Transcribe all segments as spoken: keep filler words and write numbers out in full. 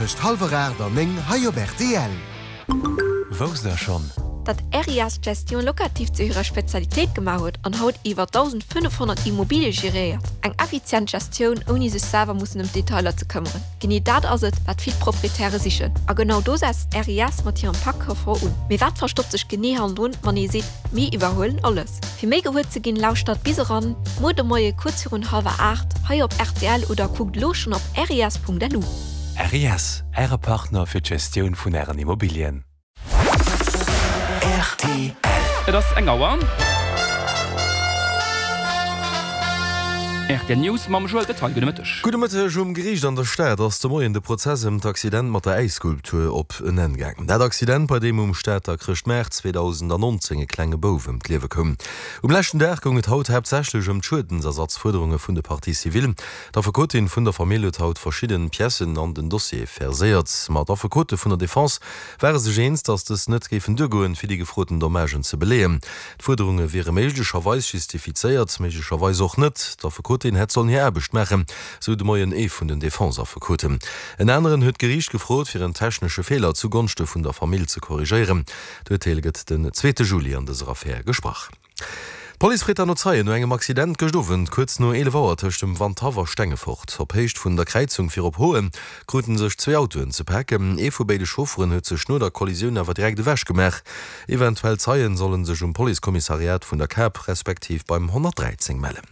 Tëscht hallwer aacht an néng hei op rtl. Wousst der schonn? Datt RIS d'Gestion locative zu hirer Spezialitéit gemaach huet an haut iwwer dausendfënnefhonnert Immobilie geréiert. Eng effizient Gestioun, ouni sech selwer mussen ëm d'Detailer ze këmmeren. Genee dat ass et, wat vill Proprietäre sichen. A genau do setzt RIS mat hirem Pak Confort un. Mee wat verstoppt sech genee hannendrun, wann ee seet, Mir iwwerhuelen alles? Fir méi gewuer ze ginn, lauschtert bis eran muer de Moie kuerz virun hallwer aacht hei op rtl oder kuckt elo schonn op ris.lu. RIS, Äre Partner fir d'Gestioun vun Ären Immobilien. Rtl. Et ass eng Auer. Rtl News mam Joël Detaille. Gudde Mëtteg. Gudde Mëtteg. Um Geriicht an der Stad ass de Moien de Prozess ëm d'Accident mat der Äisskulptur op en Enn gaangen. Dat Accident, bei deem um Stater Chrëschtmaart zweedausendannonzéng e klenge Bouf ëm d'Liewe koum. Um leschten Dag goung et haut haaptsächlech ëm d'Schuedensersatzfuerderunge vun de Parties civiles. D'Affekotin vun der Famill huet haut verschidden Piècen an den Dossier verséiert. Ma d'Affekote vun der Defense ware sech eens, datt dës net géifen duergoen, fir déi gefroten Dommagen ze beleeën. D'Fuerderunge wiere méiglecherweis justifizéiert, méiglecherweis och net. D'Affekotin hätt sollen hir Aarbecht maachen, sou de Moien ee vun den Defense-Affekoten. En aneren huet d'Geriicht gefrot, fir en technesche Feeler zu Gonschte vun der Famill ze korrigéieren. D'Urteel gëtt den zweete Juli an dëser Affär gesprach. D'Police freet dann no Zeien no engem Accident gëscht Owend kuerz no eelef Auer tëscht dem Wandhaff a Stengefort. Op Héicht vun der Kräizung fir op Hoen kruten sech zwee Autoen ze paken. Ee vu béide Chaufferen huet sech no der Kollisioun awer direkt ewech gemaach. Eventuell Zeien solle sech um Policekommissariat vun der Kap respektiv beim honnertdräizéng mellen.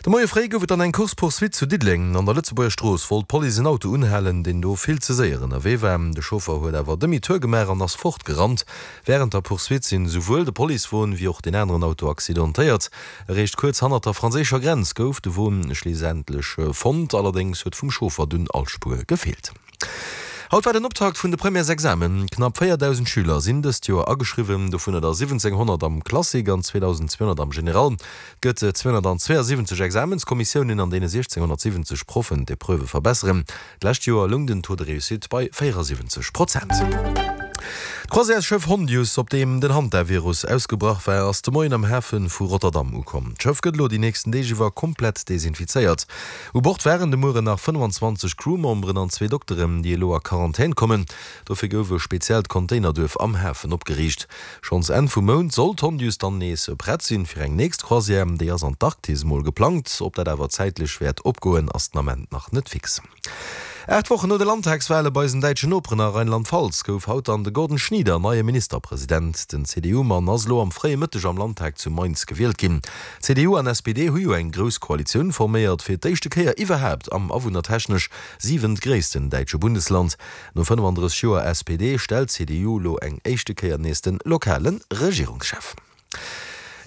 De Moie fréi gouf et dann eng Course-poursuite zu Diddeleng. An der Lëtzebuerger Strooss wollt d'Police en Auto unhalen, deen do vill ze séier ënnerwee war. De Chauffer huet awer Demi-tour gemaach an ass fortgerannt. Wärend der Poursuite sinn esouwuel de Policewon wéi och deen aneren Auto accidentéiert. Eréischt kuerz hannert der franséischer Grenz gouf de Won schliisendlech fonnt, allerdéngs huet vum Chauffer dunn all Spuer gefeelt. Haut war den Optakt vun de Premièresexamen. Knapp véierdausend Schüler sinn dëst Joer ageschriwwen, dovunner der siwwenzénghonnert am Classique an zweedausendzweehonnert am General. Et gëtt zweehonnertzweeasiwwenzeg Examenskommissiounen, an deene siechzénghonnertsiwwenzeg Proffen d'Epreuvë verbesseren. D'lescht Joer loung den Taux de réussite bei véierasiwwenzeg Prozent. D'Croisièresschëff Hondius, op deem den Hantavirus ausgebrach war, ass de Moien am Hafe vu Rotterdam ukomm. D'Schëff gëtt elo déi nächsten Deeg iwwer komplett desinfizéiert. U Bord waren de Mueren nach fënnefanzwanzeg Crewmemberen an zwee Dokteren, déi elo a Quarantän kommen. Dofir gouf e speziellt Containerduerf am Hafen opgeriicht. Schonns Enn vum Mount soll d'Hondius dann nees prett sinn fir eng nächst Croisière. Déi ass an d'Arktis mol geplangt. Ob dat awer zäitlech wäert opgoen, ass den Ament nach net fix. Aacht Wochen no de Landtagswale bei eisen däitschen Noperen a Rheinland-Pfalz gouf haut dann de Gordon Schnieder neie Ministerpresident. Den C D U-Mann ass elo am fréie Mëtteg am Landtag zu Mainz gewielt ginn. C D U an S P D hu jo eng grouss Koalitioun forméiert, fir d'éischte Kéier iwwerhaapt am awunnertechnesch siwentgréissten däitsche Bundesland. No fënnefandrësseg Joer S P D stellt d'C D U elo eng éischte Kéier nees de lokale Regierungschef.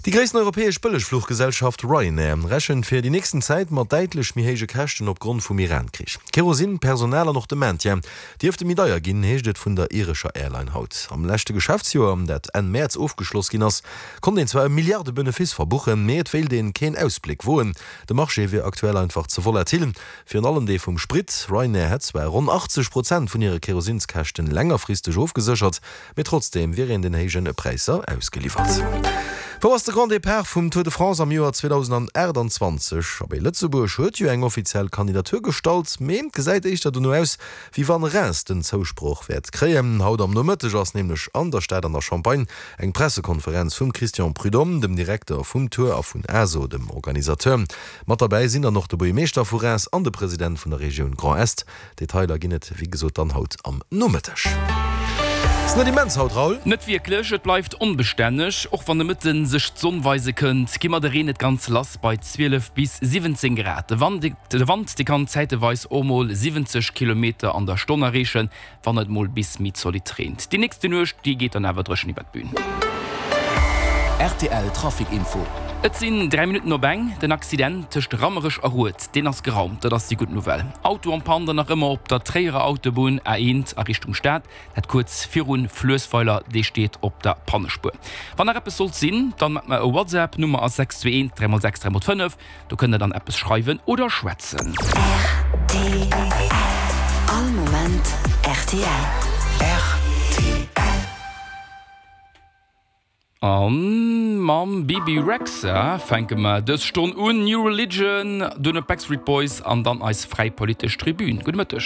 Déi gréissten europäesch Bëllegfluchgesellschaft Ryanair rechent fir déi nächsten Zäit mat däitlech méi héije Käschten opgrond vum Iran-Krich. Kerosin, Personal an och de Maintien dierfte méi deier ginn, heescht et vun der irescher Airline haut. Am leschte Geschäftsjoer, dat Enn Mäerz ofgeschloss ginn ass, konnt een zwar e Milliarde-Benefice verbuchen, mee et wéilt een keen Ausbléck woen. De Marché wier aktuell einfach ze volatil, virun allem dee vum Sprit. Ryanair hätt zwar ronn achtzeg Prozent vun hire Kerosinskäschten längerfristeg ofgeséchert, mee trotzdeem wier een den héije Präisser ausgeliwwert. Wou ass de Grand Départ vum Tour de France am Joer zweedausendaachtanzwanzeg? Abee, Lëtzebuerg huet jo eng offiziell Kandidatur gestallt, mee et gesäit éischter dono aus, wéi wann Reims den Zousproch wäert kréien. Haut am Nomëtteg ass nämlech an der Stad an der Champagne eng Pressekonferenz vum Christian Prudhomme, dem Direkter vum Tour, a vun A S O, dem Organisateur. Mat derbäi sinn dann och de Buergermeeschter vu Reims an de President vun der Regioun Grand Est. Detailer ginn et wéi gesot dann haut am Nomëtteg. Ass net immens haut, Raoul? Net wierklech, et bleift onbestänneg. Och wann de Mëtte sech d'Sonn weise kënnt, gi mer de Reen net ganz lass bei zwielef bis siwwenzéng Grad. De Wand, de Wand dee kann zäiteweis och mol siwwenzeg Kilometer an der Stonn erreechen, wann et mol bis méi zolidd reent. Déi nächste Nuecht, déi geet dann awer dréchen iwwert d'Bün. Rtl Trafic Info. Et sinn dräi Minutten op eng. Den Accident tëscht Rammerech a Rued, deen ass geraumt, dat ass déi gutt Nouvelle. Auto en panne dann nach ëmmer op der Tréierer Autobunn A eent a Richtung Stad, dat kuerz virun Fluessweiler, dee steet op der Pannespuer. Wann nach eppes sollt sinn, dann maacht mer e WhatsApp, Nummer ass sechs zwee eent dräi mol sechs dräi mol fënnef, do kënnt der dann eppes schreiwen oder schwätzen. Rtl All Moment rtl. Rtl. A mam Bebe Rexha fänke mer dës Stonn un. New Religion, duerno d'Backstreet Boys an dann eis fräi politesch Tribün. Gudde Mëtteg.